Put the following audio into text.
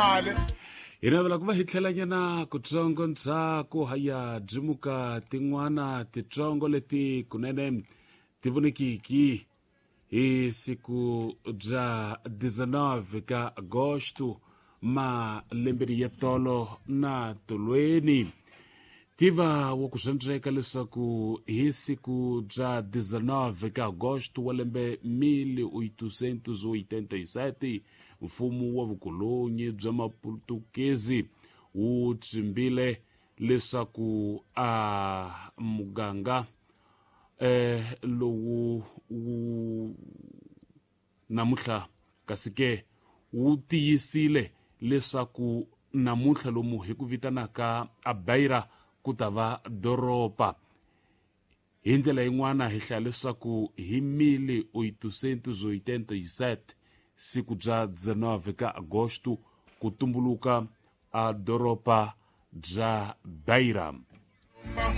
Hi navela ku va hi tlhelanyana kutsongo ndzhaku haya byimuka tin'wana titsongo leti kunene ti vonekiki hi siku bya 19 ka agosto malembeni ya tolo na tolweni. Tiva wa ku swandzeka leswaku hi siku bya 19 ka agosto wa lembe 1887, mfumo wa vukolonyi bya Maputukezi wu tsimbile leswaku a muganga lowu wu namuntlha, kasi ke wu tiyisile leswaku namuntlha lomu hi ku vitanaka a Beira ku ta va doroba. Hi ndlela yin'wana hi hlaya leswaku hi 1887, siku bya 19 ka agosto, ku tumbuluka a doroba bya Beira.